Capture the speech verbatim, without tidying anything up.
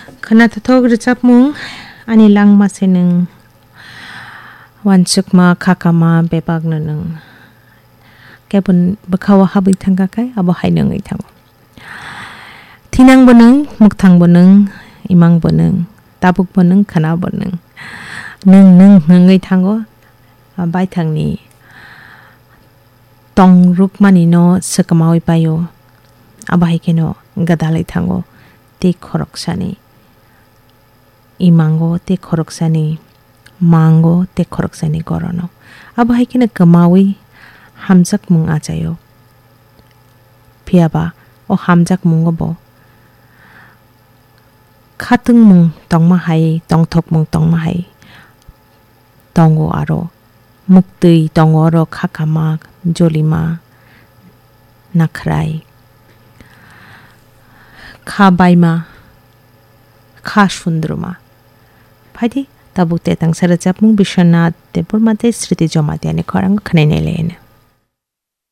Khwnathothok rwchapmung, ani langma se nwng, uansukma khakama bebakno nwng. Kebon bwkhao habwi thangkha khe abo haino wngwi thango. Thinangbo nwng, mwkthangbo nwng, imangbo nwng, tabukbo nwng, khwnabo nwng. Nwng nwng wngwi thango, baithangni tongrukmanino swkamaui paio, abo hai kheno gwdalwi thango tei khoroksani imango tei khoroksani mango tei khoroksani gorono. Abo hai kheno kwmaui hamjakmung achaio. Phiyaba o hamjakmungo bo khatungmung tongma hai, tongthokmung tongma hai tongo aro. Muktwi tongo oro khakama, jolima, nakhrai, kha baima, kha sundruma. Phaidi tabuk tetangsa rwchapmung Biswanath Debbarma tei Sriti Jamatia ni khorang khwnai nai lai no.